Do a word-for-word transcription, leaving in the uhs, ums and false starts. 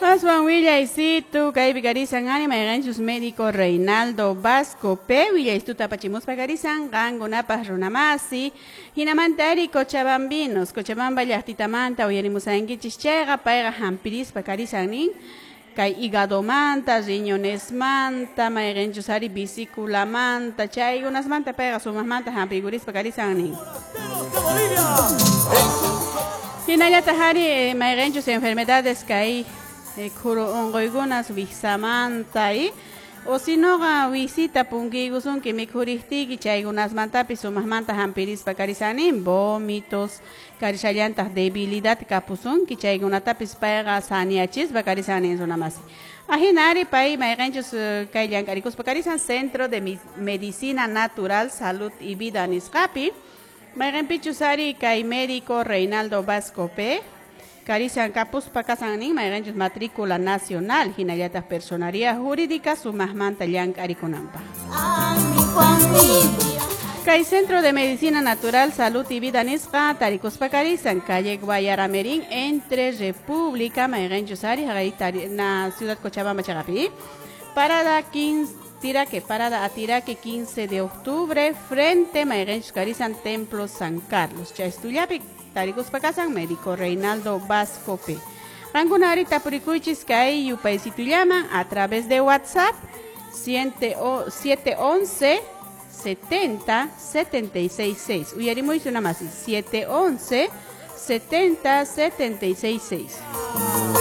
Aswan willaysitu kaypi karisan ari mayqanchus médico Reinaldo Vasco P willaystuta apachimuspa karisan qankunapaq runamasi hinamanta ari Cochabambinos Cochabamba llaqtitamanta uyarimusankichis chayqa payqa hampirispa karisan nin kay hígadomanta, riñonesmanta, mayqanchus ari vesículamanta chaykunasmanta payqa sumaqmanta hampiykurispa karisan nin. Hinallataq ari mayqanchus enfermedades kay khuru unquykunas wiksamanta y o sinoqa wisita punkiykusunki mikhuriqtiyki chaykunasmantapis sumaqmanta hampirispa karisanin vómitos karishallantaq debilidad kapusunki chaykunatapis payqa saniachispa karisanin runamasi. Ahina ari pay mayqanchus kay llank'arikuspa karisan Centro de Medicina Natural, Salud y Vida nisqapi mayqanpichus ari kay médico Reinaldo Vasco P karisan kapuspa kasan nin mayqanchus matrícula nacional hinallataq personería jurídica sumaqmanta llank'arikunanpaq. Kay Centro de Medicina Natural, Salud y Vida nisqa tarikuspa karisan calle Guayaramerín entre República mayqanchus ari haqay na Ciudad Cochabamba chaqapi parada quince Tiraque, parada a Tiraque quince de octubre frente mayqanchus karisan Templo San Carlos chaystullapi tarikuspa kasan médico Reinaldo Vasco P. Qankunari tapurikuychis kay yupaysitullaman a través de WhatsApp siete once setenta setenta y seis seis. Uyarimuysu namasi siete once setenta setenta y seis seis.